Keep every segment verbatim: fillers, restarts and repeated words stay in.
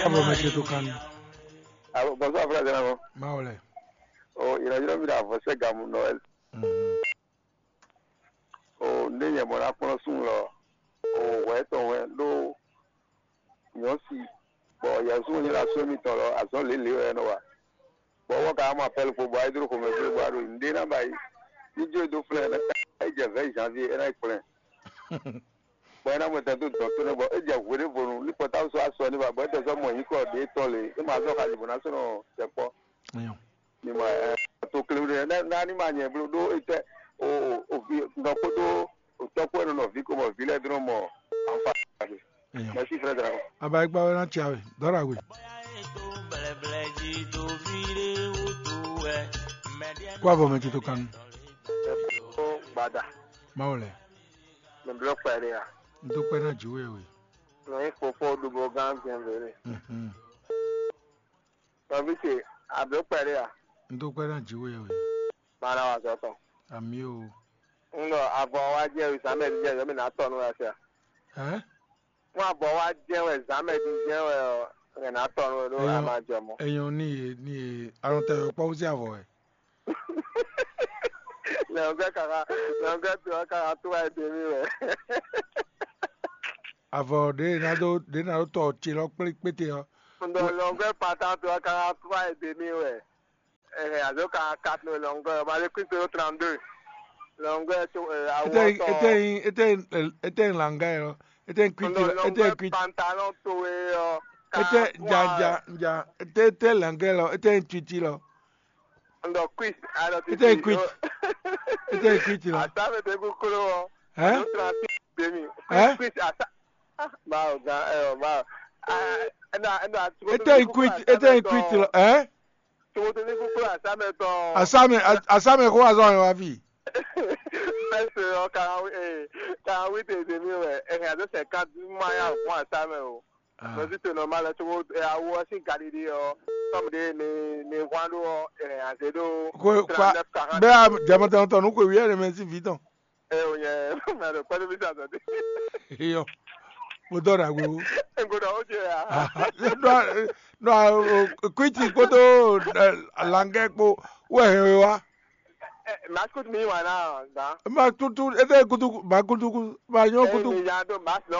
Abo mɛ ce tó kan. Alo, bonsoir, frère Zénabo. Mawu lɛ. O, ìrànlọ́wọ́ mi ɖo avɔsɛ́gamu Noël. Mhm. O, ndé nyɛ mɔ ná kplɔ́n sun lɔ. O, hwɛ tɔn hwɛ ɖó nyɔ̌si, bɔ yɛ̌sú nyɛ ɖo asú mitɔn lɔ, azɔ̌ lělě wɛ é nɔ wa. Bɔ wɔ ka mɔ apɛ́l kpo bɔ ayédúró xomɛ gbé bɔ a ɖo nǔɖé ná ba yi. Ní jó e dó flɛ́n ɛ é jɛ vɛ̌ janvier é ná yi kplɛ́n. Bɔ é ná mɔ tɛn dó dɔn tó nɛ́ bɔ é jɛ hweɖévonu ní pɔtáwu sɔ́ asɔ ní ba bɔ é tɛ sɔ́ mɔ nyǐkɔ ɖě tɔn lě é ma zɔ́ xaji bɔ ná sɔ́ nɔ tɛ kpɔ́. Ayɔ. Ní ma ɛ to kléwú ɖé ná ní ma nyɛ bló ɖó é tɛ o o vi nɔ kpódó o tɔ́ kpó é nɔ nɔ vǐ ko mɔ vǐ lɛ́ɛ dó nɔ mɔ anfa. Ayɔ. Merci, frère Dragon. Aba ikpa wɛ ná tsia wɛ dɔra we. Kó avɔ mɛ tito kanu. Ó gbada. Mawu lɛ. Mɛ blɔ kpɛɖe ya. N tó kpɛ ná jù wɛ we. Nɔ yí fofo ɖubo gán gbɛn vele. Mhm. Nɔvi ce, a blɔ kpɛɖe ya. N tó kpɛ ná jù wɛ we. Mara wa zɔtɔ. Ami o. N ɖɔ avɔ wa jɛ wi same di jɛ yɔ mi na tɔ nu ya sia. Hɛn? Fún avɔ wa jɛ wɛ zame di jɛ wɛ ɔ, ɛ na tɔ nu ɖo a ma jɔ mɔ. Eyan ní e ní e alɔntɛ yɔ kpɔ wúsí avɔ wɛ. Lɛngɛ kaka lɛngɛ to kaka to wa de mi wɛ. Avɔ ɖe ná ɖó ɖe ná ɖó tɔ ce lɔ kplé kpéte ɔ. N ɖɔ lɛngɛ pata to kaka to wa de mi wɛ. Ɛhɛ, azo ka quatre no lɔngɔ, ba le Kristo trente-deux. Lɔngɔ to awo Ete tɔ. Ete ete ete langa lɔ. Ete kwiti lɔ. Ete kwiti. Pantalon to e ɔ. Ete ja ja ja. Ete ete langa lɔ. Ete kwiti lɔ. N ɖɔ Chris, a ɖɔ Ete kwiti. Ete kwiti lɔ. Ata me te kuklo ɔ. Hein? Azo trente demi. Hein? Chris ata. Ah, ba o ga ɛ o ba. Ah, ɛna ɛna. Ete kwiti ete kwiti lɔ. Hein? Tsokoto ní kúkú àsámɛ tɔn. Àsámɛ àsámɛ kó wá zɔ yẹn wá fi. Mɛsɛ ɔ kàwé ee kàwé tètè mi wɛ ɛhɛn àti sɛ ká dúmá yà fún àsámɛ o. Lọ sí tòun ọmọ alẹ tó ẹ awo ẹ sí Galilée ọ tọmọdé ní ní wán ló ọ ẹhẹn àti ló. Kó kó bẹ́ẹ̀ jàmọ́tàn tọ̀ ní kò wí ẹ̀rẹ̀ mẹ́sì fi tán. Ɛ o nyɛ mɛ ɖo kpɛɖo mi sa sɔti. Eyɔ, mo dɔ ɖagbe wo. Egoɖɔ o jɛ ya. Nɔ nɔ kwiti kpódó langɛ kpó wɛ hɛn we wa. Ɛ ma kutu mi wa na dan. Ma kutu ete kutu ma kutu ma yɔ kutu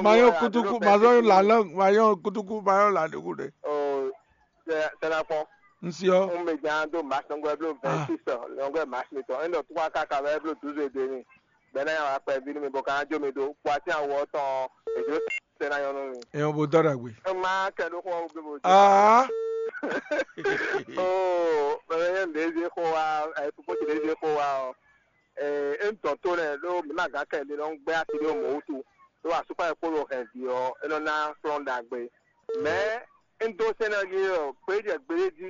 ma yɔ kutu ma zɔ la lɔ ma yɔ kutu ma yɔ la de ku de. Sɛnɛfɔ. N si ɔ. N bɛ jan do ma sɔngɔ blo vingt-six lɔngɔ ma si tɔ. N dɔ tukwa kaka bɛ blo douze de ni. Bɛ na ya wa kpɛ vi ni mi bɔ kan jo mi do. Kpɔ ati awɔ tɔn. Ejo sɛ na yɔnu mi. Ɛ o bo dɔ dagbe. N ma kɛ do xɔ o blo bo. Aa. Oo, bɛ bɛ yɛn de ze xɔ wa, ɛ tupo ti de ze xɔ wa ɔ. Ɛ n tɔ to lɛ lo mi ma gan kɛ de lɔ n gbɛ ati do mɔ wutu. Lo asukpa yɛ kpolo hɛn vi ɔ, e nɔ na kplɔn dagbe. Mɛ n dó sɛnɛ ɔ́ jí ɔ́, gbějɛ gbéɖé jí,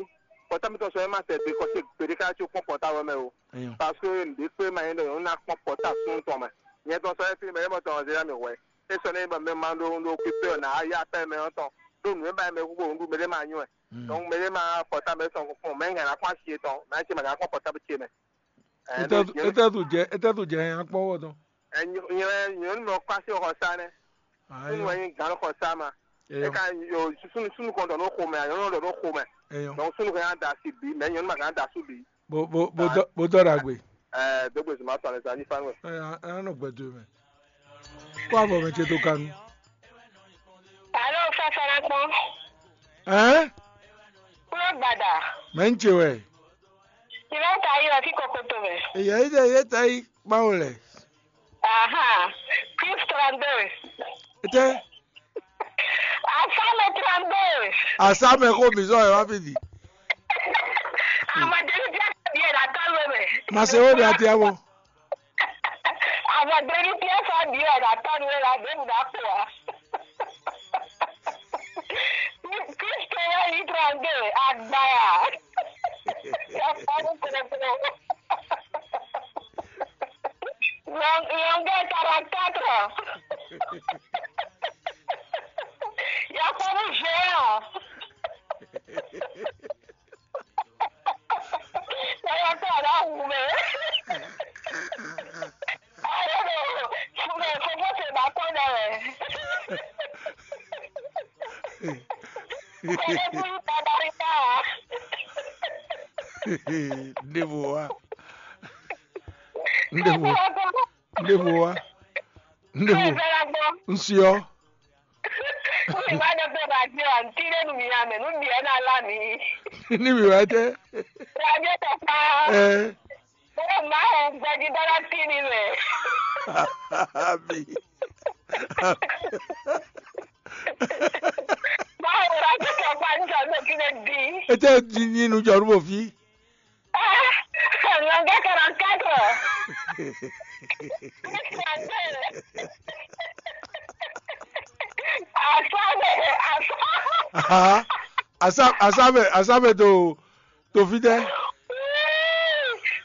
kpɔtá mitɔn sɔ́ é ma sɛ gbe kɔ ce gbeɖé ká có kpɔ́n kpɔtá wɛ mɛ o. Parce que nǔɖé kpé ma nyí ɖɔ nyɔ̌nu ná kpɔ́n kpɔtá súnnu tɔn mɛ. Nyɛ tɔn sɔ́ é fí mɛ é mɔ tɔn ɔ́ zé ná mì hwɛ. É sɔ́ ní bɔ mɛ ma ɖó ɖó pípé ɔ́ ná yá pɛ́ mɛ ɔ́ tɔn, ɖó nǔ e ba mɛ húbó nǔɖú mɛ ɖé ma nyú ɛ. Donc mɛ ɖé ma kpɔtá mɛ sɔn kpɔn mɛ ŋa ná kpɔ́n asi yětɔn, mɛ ná ce ma ná kpɔ́n kpɔtá ce mɛ. Etɛ́ tu jɛ etɛ́ tu jɛ nya kpɔ́n wɔ tɔn. Nyɛ nyɔ̌nu mɛ ɔ́ kpá sí xɔ sá nɛ́. Súnnu wɛ nyí gǎn xɔ sá ma. É ka sunu sunu kɔn ɖɔ nú xomɛ, nyɔ̌nu ɖɔ nú xomɛ. Donc súnnu kan da asi bǐ, mɛ nyɔ̌nu ma kan da asú bǐ. Bo bo bo dɔ bo dɔ ɖagbe. Ɛɛ dógbe zuma tɔ alẹ́ sa ní fánú ẹ̀. Ɛ ɛ nɔ gbɛdo mɛ. Kó avɔ mɛ ce dó kanu. Alo, Fafarakpɔn. Ɛn? Kúrò gbàdà. Mɛ ń ce wɛ. Ìlú ta yìí lọ sí Kokoto mɛ. Ìyá yìí dẹ̀ yé ta yìí máa wò lẹ̀. Aha. Chris trente-deux. Ete. Asame trente-deux. Asame ko mi zɔ ẹ wá fi di. Amadeli bí a ti bí ẹ la tọ́ ló mẹ. Màsíwò ni a ti ẹ wọ. Amadeli bí ẹ sọ bí ẹ la tọ́ ló la dé mu dà pọ̀ wá. Kristo yɛ yi trente-deux agbaya. Yɛ fɔ mu kplokplo. Lɔngɛ quarante-quatre. Yakɔbu géant. Yaya kɔ la wu mɛ. Ayo do, fúnbɛ fúnbɔ tɛ ba kɔ dɛ. Kɔlɛ́bú yí baba yí bá a. Ɖěvo wá. Ɖěvo. Ɖěvo wá. Ɖěvo. Ŋsiɔ. Ní ma ɖɔ pé radio àǹtí ɖé nu mi ame nú mi ɛ na lá mi. Ní mi wá tɛ. Radio tɔkpa. Ɛ. Ó máa ń gbẹ́jú dọ́là tí ni mẹ́. Àbí. Báwo la ti sọ pa ní sọ lókè lè di? Ete di nínú jọ̀rú bò fi. Lọ́ngẹ́ kọ̀rọ̀ kẹ́kọ̀ọ́. Àṣà bẹ̀ àṣà. Aha. Asa asa bɛ asa bɛ to to fi tɛ.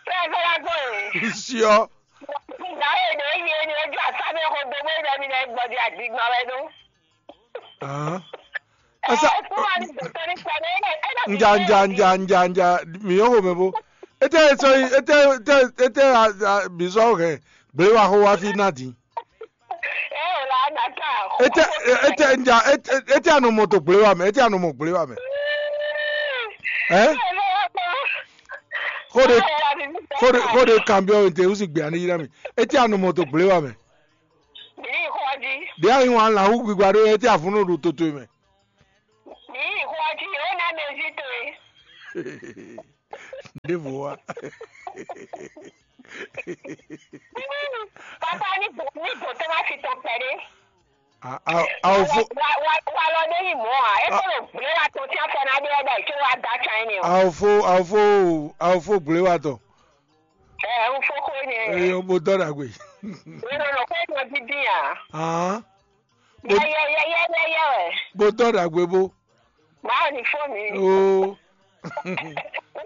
Fẹ́fẹ́ la gbọ́ yìí. Siɔ. Ìgbà yẹn ni ó yé ni ojú àṣà mi kò gbogbo ìgbà mi náà gbọ́dọ̀ àdìgbà rẹ nù. Ahan. Asa Ẹ fún wa ní ìgbésẹ̀ nípa ní ẹ̀ ẹ̀ náà ti nja dé nja òbí. Nja nja nja nja mi yɔ ko mɛ bo. Ete sɔ ete ete ete a a bi sɔ hɛ gble wa ko wa fi na di. Ẹ ò là á nà ká. Ete ete nja ete ete anɔ mɔ to gble wa mɛ ete anɔ mɔ gble wa mɛ. Ɛ? Ẹ ò lè wá pa. Xó ɖe Ẹ ò là á fi mí xó ɖe xó ɖe kanbyɔ te wusi gbe ani yi na mi. Ete anɔ mɔ to gble wa mɛ. Mǐ yi xɔ jí. Ɖe ayi wan la hu gbigba ɖo ete avun nɔ ɖo toto mɛ. Mǐ yi xɔ jí ó ná mɛ jí towe. Ɖěvo wa. Papa ní bò ní bò tó má fi tɔn pɛɖé. Awofo Wa wa wa lɔ ɖé yi mɔ̌ ǎ. É kó ɖo gbléwatɔ tí afɔ ná ɖe ɔ́ ɖɔ ìṣó wa da can énɛ́ ɔ́. Awofo awofo awofo gbléwatɔ. Ɛ ń fó xó énɛ́. Eyɔ bo dɔ ɖagbe. Wé nɔ nɔ xó énɛ́ dídí ǎ. Ahán. Bo Yɛ yɛ yɛ yɛ yɛ yɛ wɛ. Bo dɔ ɖagbe bo. Màá ní fó mi. Oo. Wọ́n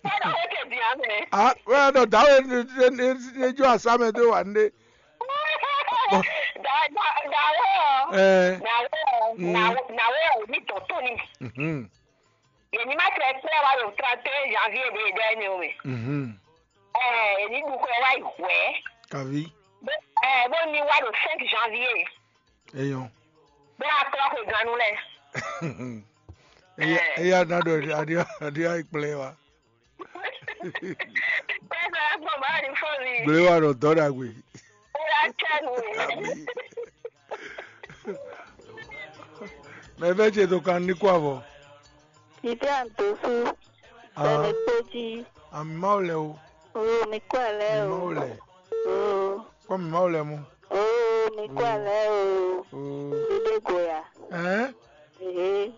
fẹ́ náà ó tẹ̀ dín àmì. Ah, wẹ́n dɔ dawe ne ne ne ne jo asamɛ do wa ne. Da da da wọ́. Ɛ. Na wọ́ Mm. na wọ́ na wọ́ ò ní tọ̀ tó ni. Mhm. Yèmí má tẹ̀ pẹ́ wa le trente et un janvier de de ni o mi. Mhm. Ɛ èmi ɖu xwe wá yi hwɛ̌. Kavi. Bó ɛ bó ní wá ɖo cinq janvier. Eyɔn. Bó a klɔ xwe gannú lɛ. Eya eya na ɖɔ aɖia aɖia kplɛ wa. Pɛpɛ gbɔn bá ní fɔ mi. Gblé wa ɖɔ dɔ ɖagbe. Ó yá tsɛ nu. Ami. Mɛ vɛ ce to kan ní kó avɔ. Ìdí àǹtó sú. Ah. Bẹ̀rẹ̀ péjì. Àmì máa lẹ o. Oo, mi kú àlẹ́ Àmì o. Máa lẹ. Oo. Kpɔ mi máa lẹ mu. Oo, mi kú àlẹ́ o. Oo. Dídé gòyà. Ẹ́. Èhé.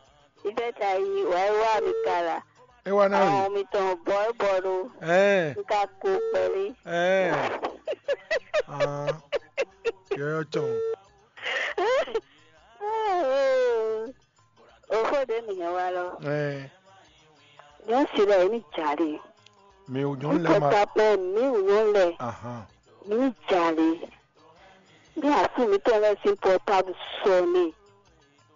Ìfẹ́ ta yí, wà á wá mi kàlà. É wá náà rè. Àwọn mi tàn bọ́ ẹ bọ́ ló. Ẹ́. N ka ko pẹ̀lú. Ẹ́. Ah. Yọ̀yọ̀ tán. Òfò ɖé nìyẹn wá lọ. Ẹ́. Yóò sì rẹ̀ ní jàre. Mi ò nyɔ́ lɛ ma. Kɔta pɛ mi ò nyɔ́ lɛ. Ahan. Ní jàre. Ní asú mi tɔn lɛ sín pɔtábù sɔ ni.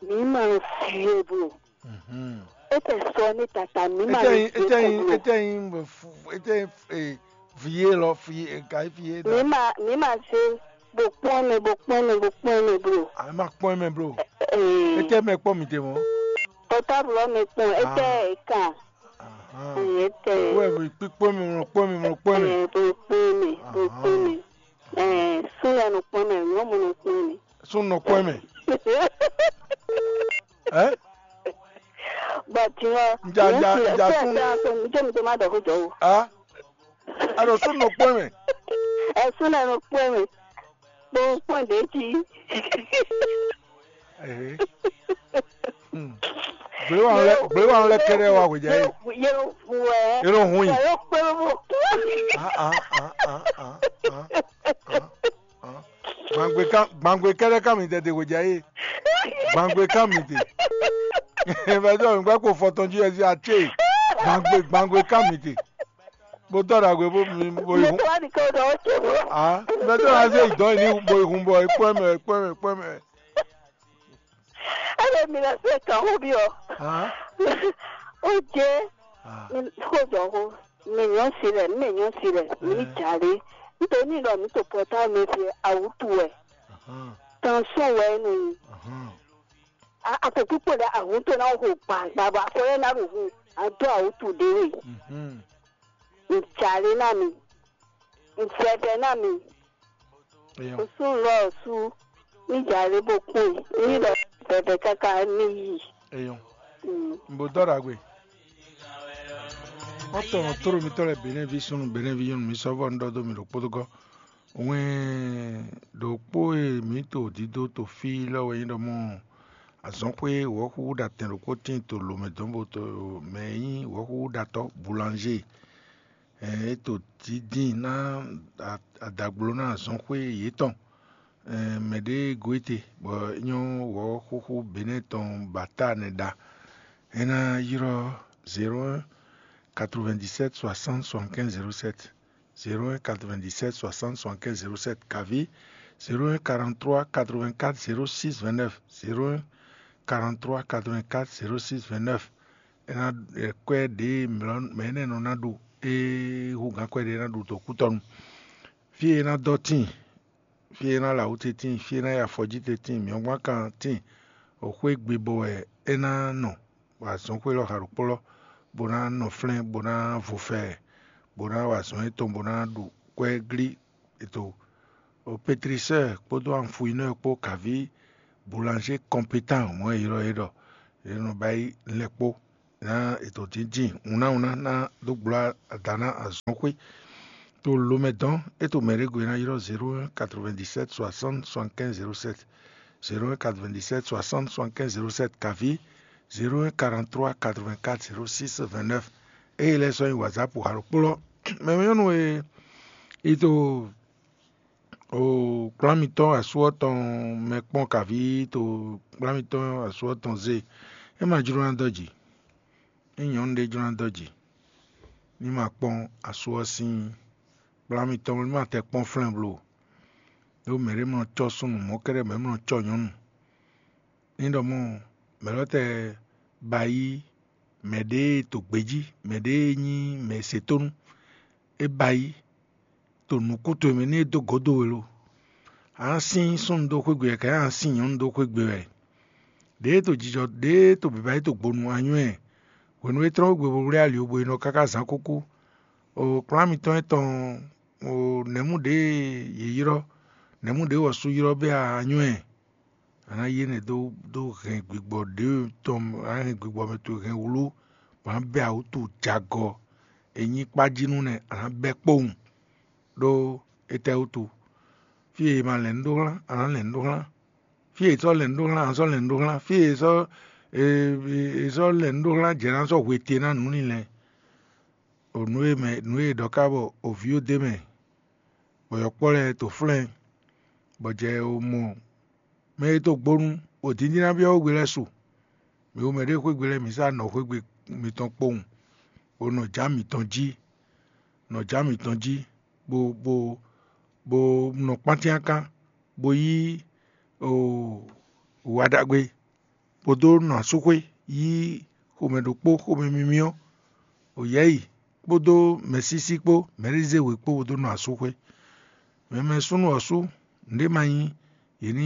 Mi ma fi é bro. Mhm. E tɛ sɔ ni tata mi ma Ete fi yin é ete yin bro. Ete yin be fu ete yin eh, vie lɔ fie eh, ka fie Mi da. Ma mi ma se bo kpɔn mi bo kpɔn mi bo kpɔn mi bro. A ma kpɔn mɛ bro. Eh, Ete mɛ kpɔn mi te mɔ. Pɔtábù lɔ mi kpɔn e tɛ Ah. E kan. Ahan. E tɛ. Wɛ bi kpikpɔn mi mɔ kpɔn mi mɔ kpɔn mi. Eh, bo kpɔn mi bo kpɔn mi. Ahan. Eh, súnlẹ̀ nù kpɔn mi nyɔ́mù nù kpɔn mi. Sún nɔ kpɔn mɛ. Ɛ? Bɔn tiɲɔ Nja- nja- nja tún- Jẹ́ mi tó má dọ̀ kó jọ o. A? A ɖo sún nɔ kpɔn mɛ. Ẹ súnlẹ̀ nù kpɔn mi. Kpɔn kpɔn ɖě jí. Ee. Hmm. Gbléwanu lɛ gbléwanu lɛ kɛɖɛ wa hwejɛ ye. Yóò fu ẹ. Yóò hun yi. Yóò pé bó. Ah ah ah ah ah ah ah. Gbàngbé kan gbàngbé kɛɖɛ kan mi tɛ de hwejɛ ye. Gbàngbé kan mi te. Bɛ dɔ mi gbɛ ko fɔtɔn jí ɛsɛ atse. Gbàngbé gbàngbé kan mi te. Bó tɔ ɖagbe bó mi bó yi Ilé hun. Tó wà ní kí o dọ̀ ó ṣe mọ́. Ah, bɛ tɔ na se idɔn yi ni bó yi hun bɔ ekpɔ mɛ ekpɔ mɛ ekpɔ mɛ. Ele mi le se kan ho bi o. Ah, O je ah. Mi ko jɔ ho. Mi nyɔ si le, mi nyɔ si le, mi Eh. Jale. Nítorí lọ mi to pɔtá mi fi awutu wɛ. Ahan, Tan sɔn wɛ nu. Ahan. Atɔkpíkpɔ́n ɖé ahun tó ná xo gbangba bɔ afɔ lɛ́ɛ ná ɖo hun adó awǔtu ɖé we. Ǹjǎlé ná mi, ǹjɛvɛ ná mi, Eyɔn. Ŋsú lɔ sú ní jà lé bó kpó e ní lɔ bɛbɛ káká ní yí. Eyɔn. Mbo dɔ ɖagbe. Wọ́n tɔn tóɖo mitɔ́ lɛ́ɛ Benɛ́ví súnnu Benɛ́ví nyɔ́nu mi sɔ́ vɔ́ un ɖɔ dó mi ɖo kpódógɔ́. Wɛn ɖokpó e mǐ to dídó to fí lɔ wɛ nyí ɖɔ mɔ azɔ̌xwé wɔ̌xúxú ɖo atɛn ɖokpó tíin to lǒmɛ dɔn bó to mɛ e nyí wɔ̌xúxú ɖatɔ́ boulanger. É to dídín ná adagblo ná azɔ̌xwé yětɔn. Mɛ ɖě e gɔ́ éte bɔ é nyɔ́ wɔ̌xúxú Benɛ́ tɔn bata nɛ́ ɖa. É ná ylɔ́ zéro un quatre-vingt-dix-sept soixante soixante-quinze zéro sept, zéro un quatre-vingt-dix-sept soixante soixante-quinze zéro sept, kaví zéro un quarante-trois quatre-vingt-quatre zéro six vingt-neuf, zéro un quarante-trois quatre-vingt-quatre zéro six vingt-neuf. É ná kwɛ́ ɖě mɛ énɛ́ nɔ ná ɖu é hú gǎn kwɛ́ ɖě é ná ɖu dó kútɔnu. Fí e é ná dɔ́ tíin, fí e é ná lɛ awǔ tɛ́ntin, fí e é ná yi afɔjí tɛ́ntin, mǐ ɔ́ gbán kan tíin, xwé gbe bɔ wɛ é ná nɔ, bɔ azɔ̌xwé lɔ xa ɖokpó lɔ, bó ná nɔ flɛ́n, bó ná vo fɛ, bó ná wa azɔ̌ yětɔn, bó ná ɖu kwɛ́ glí ètò. Petrisɛ́ɛ kpódó anfuinɔ́ɔ kpó kaví boulanger kɔmpétan mɔ̌ e ylɔ́ é ɖɔ é nɔ ba yi lɛ́ kpó ná ètò dǐndín wunnáwunná ná dó gbló ada ná azɔ̌xwé. To lomɛ dɔn é to mɛ ɖé gbe ná ylɔ́ zéro un quatre-vingt-dix-sept soixante soixante-quinze zéro sept, zéro un quatre-vingt-dix-sept soixante soixante-quinze zéro sept, kaví zéro un quarante-trois quatre-vingt-quatre zéro six vingt-neuf. Eye lɛ́ɛ sɔ́ nyi whatsapp xa ɖokpó lɔ. Mɛ nyɔ́nu e yi to o kplán mitɔn asú ɔ́ tɔn mɛ kpɔ́n kaví to kplán mitɔn asú ɔ́ tɔn zé. É ma jló ná dɔ́ jǐ. Ní nyɔ̌nu ɖé jló ná dɔ́ jǐ, ní ma kpɔ́n asú ɔ́ sín kplán mitɔn, ní ma tɛ kpɔ́n flɛ́n blo. Ɖó mɛ ɖé mlɔ cɔ́ súnnu, mɔ̌ kɛ́ɖɛ́ mɛ mlɔ cɔ́ nyɔ̌nu. Ní ɖɔ mɔ̌, mɛ lɔ tɛ ba yí mɛ ɖé e to gbějí, mɛ ɖé e nyí mɛ e se tónú, é ba yí to nǔkún towe mɛ ní é dó gǒdo we lo. A nǎ sín súnnu dó xwé gbe wɛ, kɛ a nǎ sín nyɔ̌nu dó xwé gbe wɛ. Ɖěe to jijɔ ɖěe to bǐbá yi to gbonu a nywɛ́ ɛ. Hwenu e é tlɔ́n xwé gbe bo wlí ali ɔ́, bo yi nɔ káká zǎn kúkú. O kplɔ́n mitɔn e tɔn o nɛ̌mú ɖě yě ylɔ́, nɛ̌mú ɖě wɔ̌sú ylɔ́ bɛ́ a nywɛ́ ɛ. A nǎ yí énɛ́ dó dó hɛn gbigbɔ ɖě tɔn, a nǎ hɛn gbigbɔ mɛ towe hɛn wlú, bɔ a nǎ bɛ́ awǔtu jagɔ e nyí kpájínú nɛ́, a nǎ bɛ́ kpowun. Ɖó étɛ́ wútu? Fí e è ma lɛ̌n nǔ ɖó xlán, a nǎ lɛ̌n nǔ ɖó xlán. Fí e è sɔ́ lɛ̌n nǔ ɖó xlán, a nǎ sɔ́ lɛ̌n nǔ ɖó xlán. Fí e è sɔ́ è sɔ́ lɛ̌n nǔ ɖó xlán, jɛ̌ ná sɔ́ hwete ná nǔ lɛ́ɛ. O nǔ e mɛ nǔ e è ɖɔ ká bɔ o vǐ ó d'é mɛ, bɔ yɔ̌kpɔ́ lɛ́ɛ to flɛ́n, bɔ jɛ o mɔ mɛ e to gbonu, o dǐndín ná byɔ́ xwé gbe lɛ́ɛ su. Mi wu mɛ ɖě xwé gbe lɛ́ɛ, mi sá nɔ xwé gbe mitɔn kpowun, bo nɔ jǎ mitɔn jí, nɔ jǎ mitɔn jí, bo bo bo nɔ kpántín akán, bo yí o wa ɖagbe, bo dó nɔ asúxwé, yí xomɛ ɖokpó xomɛ mímíɔ́, o yɛ̌yi kpódó mɛ̌sísí kpó mɛ̌ɖézéwe kpó bo dó nɔ asúxwé. Mɛ mɛ súnnu ɔ́ sú, nǔɖé ma nyí, yě ní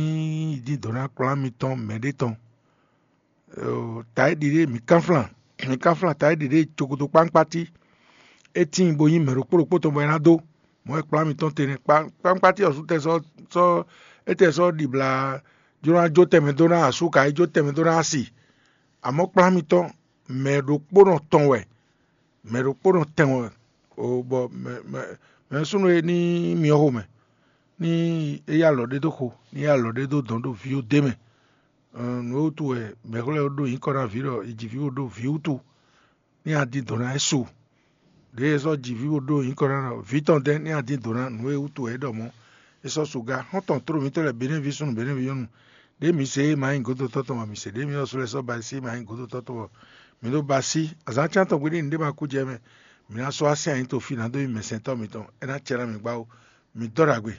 yí dín dɔ̌ ná kplɔ́n mitɔn mɛɖé tɔn. Taɖiɖe mǐ kánflán, mǐ kánflán taɖiɖe cokoto kpánkpátí. É tíin bo nyí mɛ ɖokpó ɖokpó tɔn bɔ é ná dó. Mɔ̌ wɛ kplɔ́n mitɔn te nɛ́. Kpánkpátí ɔ́ sú tɛ sɔ́ sɔ́ é tɛ sɔ́ ɖibla jló ná jó tɛnmɛ dó ná asú ka é jó tɛnmɛ dó ná asi. Amɔ̌ kplɔ́n mitɔn mɛ ɖokpónɔ tɔn wɛ, mɛ ɖokpónɔ tɛn wɛ. O bɔ mɛ mɛ mɛ súnnu e ní myɔ xomɛ, ní é yá alɔ ɖé dó xo, ní é yá alɔ ɖé dó dɔn ɖó vǐ ó d'é mɛ. Nǔ e wútu wɛ mɛ̌xlɛ́ ɔ́ ɖo nyǐkɔ ná vǐ ɖɔ è ji vǐ bó ɖó vǐ wútu, ní a din dɔ̌n ná ɛ su. Ɖěe è sɔ́ ji vǐ bó ɖó nyǐkɔ ná ɖɔ vǐ tɔn dɛ́ ní a din dɔ̌n ná nǔ e wútu wɛ é ɖɔ mɔ̌. È sɔ́ su ga xɔ́ntɔn tló mitɔ́ lɛ́ɛ Benɛ́ví súnnu Benɛ́ví nyɔ́nu. Ɖěe mi se é ma nyí gǒdotɔ́ tɔn bɔ mi se, ɖěe mi ɔ́ su lɛ́ɛ sɔ́ ba sí é ma nyí gǒdotɔ́ tɔn bɔ mi ɖó ba sí. Azǎn cyán tɔn gbe ní nǔɖé ma kú jɛ mɛ. Mi ná sɔ́ así anyǐ to fí ná dó nyí mɛsɛntɔ́ mitɔn. É ná cɛ ná mi gbá ó. Mi dɔ́ ɖagbe.